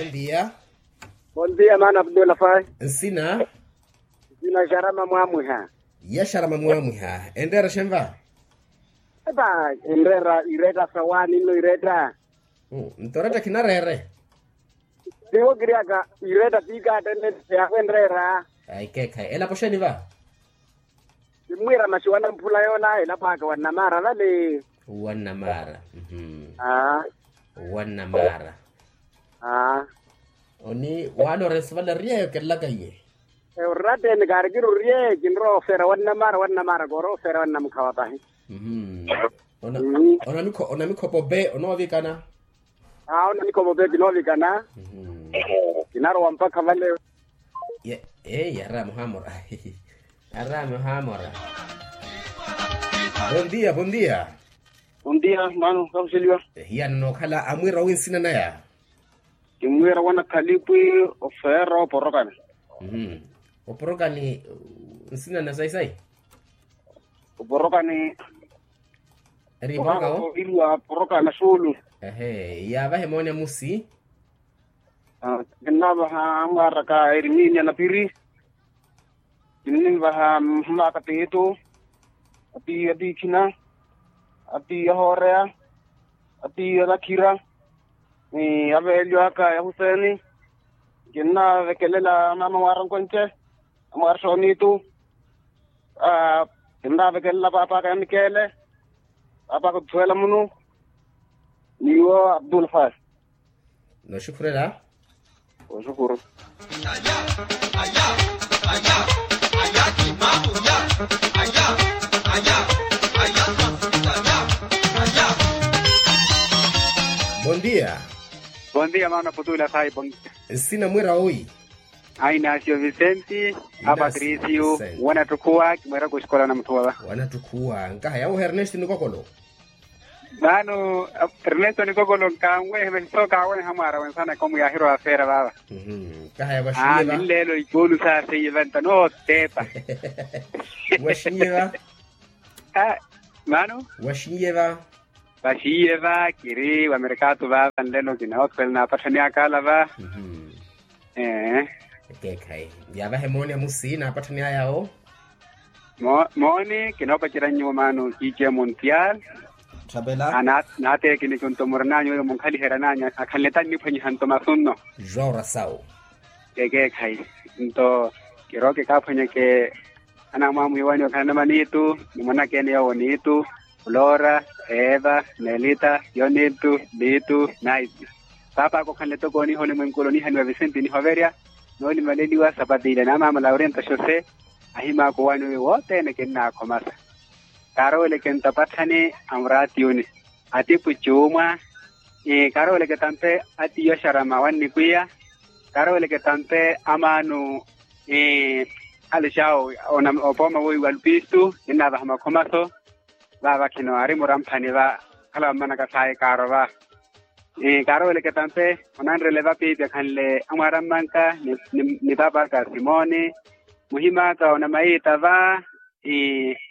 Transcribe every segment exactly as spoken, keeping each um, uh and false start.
Bondia. Bondia maana abdulafai. Nsina? Nsina xarama mwamwiha. Ya xarama mwamwiha enreera xenva? Epa, enreera iretta sawaani nno iretta. Nto oretta khinareere. Tiwo kiryaka iretta tiikaattene. Yaakhu enreera. Aikeekhayi elapo xeeni va? Kimmwiira maxi wanamphula yoola elapo aka wannamaara vale. Wannamaara. Aa. Wannamaara. Aa. Oni waala orensi vale oryeeyo kerelaka iwe. Orratteni kaari kirurye kinrowa ofeera wannamaara wannamaara koorowa ofeera wannamukhawa pahi. Onamikhopa ope onoovikana? Aa onamikhopa ope kinoovikana. Kinarowa mpakha vale. Eyi yaramuhamora. Yaramuhamora. Bondia bondia. Bondia mano kahuxeliwa. Hiyano nookhala amwiira owi nsina naya? Kimwiira wana khalipwi ofeera oporokani. Oporokani nsina na sayi sayi? Oporokani. Eri iporoka wo? Iriwa porokani na suulu. Ehe yaavahe mooni amusi. Kinnavaha amwaaraka eriminia na piri. Kinnivaha mmaaka piitu. Atiiya tiikhina. Atiiya hooreya. Atiiya nakhira. Ni aveelyo aka ya huseeni. Kinnavekelela maama mwaara nkwence. Amwaara xooniitu. Kinnavekelela paapa aka ya mikeele. Paapa aka otusuwela munu. Niwo abdulfas. Nooxukhurela. Oxukuru. Bondia. Bondia maana putula sayi bondia. Nsina mwiira owi? Ainasio visenti. Apatrisio. Wanatthukuwa kimweeraka oxikola na mutthu wava. Wanatthukuwa nkaha yawo ernesto nikokolo. Maano ernesto nikokolo nkanwehe masi sookaweneha mwaara wensanaka omu yaahirowa afeera vaava. Kaha ya vaxinyiva. Aani nleelo ikoonu saaseiye vanta nootteepa. Vaxinyiva. Maano. Vaxinyiva. Vaxiiye va kiri wa merkatu vaava nlelo kinawothwela naapatthani akala va. Ee. Ekeekhayi. Yaavahe mooni amusi naapatthani ayawo. Mooni kinoopacerya nyuwo maano kiice muntial. Naateekini kunto murinanyu oyo munkhaliheryananyu akhanle tanniphwanyiha nto masu nno. Jorasawu. Ekeekhayi. Nto kirooke kaaphwanyeke. Anamwamwiiwani okhala namaniitu ni mwanakene yoowo niitu. Flora, eva, melita, yonitu, litu, naiti. Paapaka okhanle toko oniha olimwenku ole onihaniwa visenti nihoverya. Noolimaleliwa sapati ile na maama laurinta xose. Ahimaaka owani oyo wothene kinnaakhomasa. Kaaroweleke nto apatthani amuraatiyuni. Atipu cuumwa. Kaaroweleke tampe atiyo xarama wannikwiya. Kaaroweleke tampe amaanu. Alixawo. Opooma woiwa lupistu. Kinnavaha makhomaso. Vaava khino ari muramphani va. Khala vammanaka sayi kaaro va. Kaaroweleke tampe onanrele vapiipi akhanle amwaara mmanka. Ni paapaka simoni. Muhim'aka onamayiita va.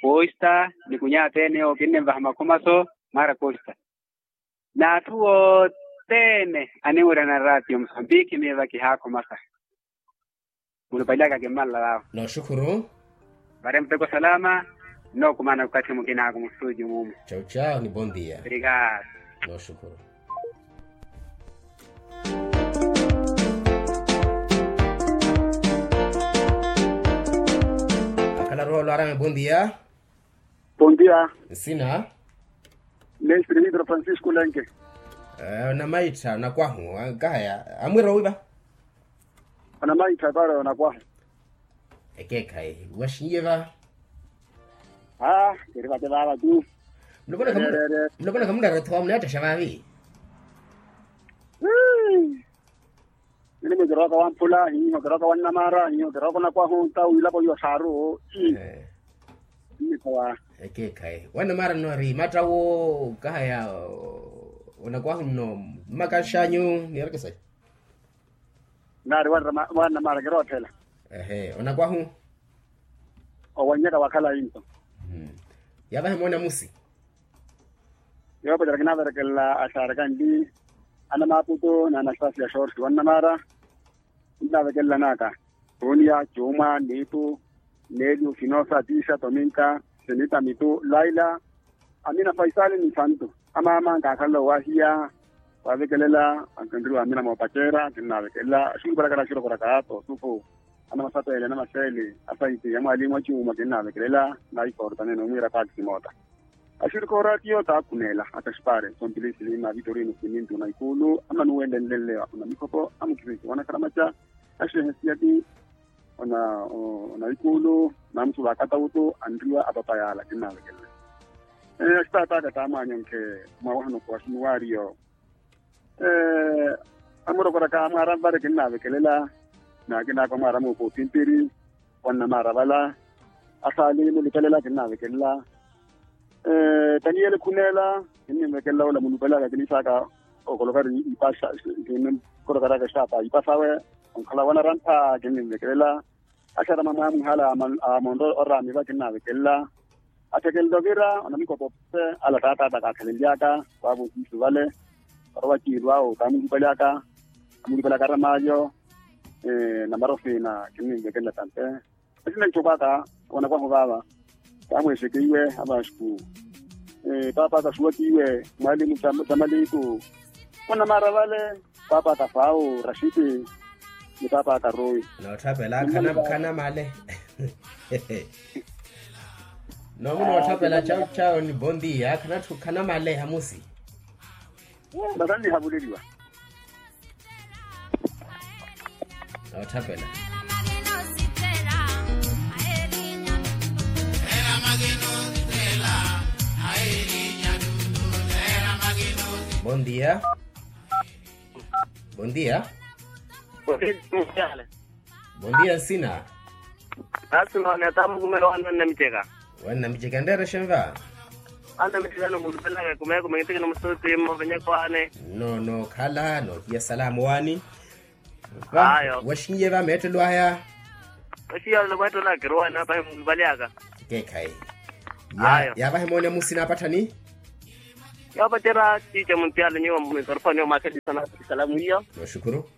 Posta ni kunyaateene owo kinnimvaha makhomaso. Mwaara posta. N'atthu othene aniwirana raatiyo musambiki miyo va kihaakhomasa. Mulupali aka kimmalela vaawo. Nooxukhuru. Vari muteko salama. Nnookumana okathi mukinaaku mustuuju mumu. Cau cau ni bondia. Obrigado. Nooxukhuru. Akhala roho lwarame bondia. Bondia. Nsina? Mestre vidro francisco lenke. Onamaittha onakwahu. Ankahaya amwira owiva? Onamaittha para onakwahu. Ekeekhayi waxinyiye va? Aa kiri vate vava tu. Mulopona khamunrara othowa muneettaxa vaavi. Nini mukirooka wamphula hiiho kirooka wannamara hiiho kirooka onakwahu nta wiilapo iwo xaaru. Nnikhowa. Ekeekhayi wannamara nno ari matta wo? Kahaya. Onakwahu nno mmaka nxanyu niyerekesaya. Naari wannamara kirootthela. Ehe onakwahu. Owannyaka wakhala into. Yaavahe moona musi. Yoopacerya kinaverekelela axaaraka nli. Anamaaputu n'anastasiya shorsi wannamaara. Nnaavekelela n'aka, tuniya, cuma, niitu, nelio, finosa, tisa, tominka, senita, mitu, laila, amina, faisali ni santu. Amaama nkakhalela owahiya, wavekelela ankenriwa amina moopaceera kinnaavekelela axuruparaka na axuruparaka, tosufu, anamasapeele anamaseeli, asaiti ya mwalimu acuma kinnaavekelela, na ikorta nene omwiira paakisi moota. Axirikhoora tiyo taakhuneela ataxipare sompilisi lima vitorino simintu na ikulu amanuwenlenlenle onamikhopo amukirisi wanakaramaca. Axehe siyati ona ikulu namusu vakatautu anriwa apapayala kinnaavekelela. Axitaataka taamwanyonke mwawahano kuwaxunuwariyo. Amurokoraka mwaara mvare kinnaavekelela. Nakinaka mwaara muupa opimpiri wannamaara vala. Asaali mulupelela kinnaavekelela. Taniyeli khuneela kinninvekelela ola mulupelaka kinisaaka okoloka ri ipasa. Kinnikorokaraka xitaapa ipasawe onkhala wanarampha kinninvekelela. Axarama mwamuhala amonto oraamiva kinnaavekelela. Athekelele ovira onamikopo pse ala taataata kaakhalenlyaka. Vaavo siisu vale orowa ciilu awo kaamulupelaka amulupelaka aramaalyo. Namarofina kinninvekelela tampe. Esina ntxokwaka wanakwahu vaava. Kaamweexeke iwe avaxuku. Paapa kasuwaka iwe mwalimu. Tamaliku onamaara vale. Paapa kafau rashiti ni paapa karuwi. Nootthapela khana male. Nomu nootthapela cawu cawu ni bondia khana male hamusi. Makannihavuleliwa. Nootthapela. Bondia. Bondia. Bondia nsina. Nasi none atamukumela wana namiceka. Wana namiceka nderexe nva. Wana namiceka nomulupelaka kumekume kitikina musuti mmovenyeko wane. Nono khala nohiya salamu wani. Ayo. Wexinye va meettelo aya. Wexinye va meettelo aya kiruwa napahe mulupale aka. Keekhayi. Ayo. Yavahe moone musina apatthani. Yoopacerya ciice muntiyale nyuwo mikorofoni omwakhelisanaka isalamu iyo. Nooxukuru.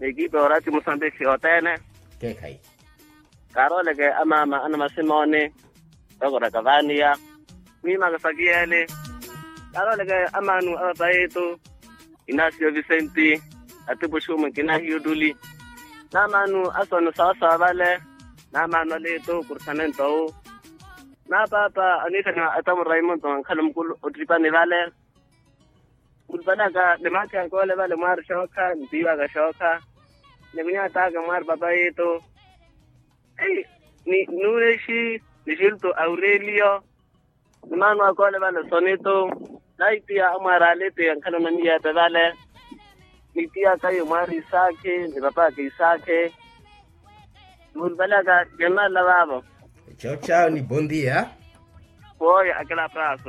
N'ekipa yoorati musambiki yothene. Keekhayi. Kaarooleke amaama anamasimoni. Vakoraka vaaniya. Mwiimaka sakiyeele. Kaarooleke amaanu a papayitu. Inasio visenti. Atipuxumu nkinahiyo ottuli. Naamaanu asoni sawasawa vale. Naamaanu aliitu kursamentowu. Napaapa aniithaniwa atamu raimonto ankhala mukulu ottripani vale. Khulupalaka ni maakhi aka ole vale mwaari xookha ntiiwaka xookha. Ni kunyataka mwaari papayitu. Nuulexi ni xilto aurelio. Ni maanu aka ole vale sonito. Naitiya amwaari alitiya nkhala onamiyeepe vale. Nitiya kayo mwaari isaakhi ni papaaka isaakhi. Muulupalaka kennalla vaavo. Cocawo ni bondia. Pooyo akela praso.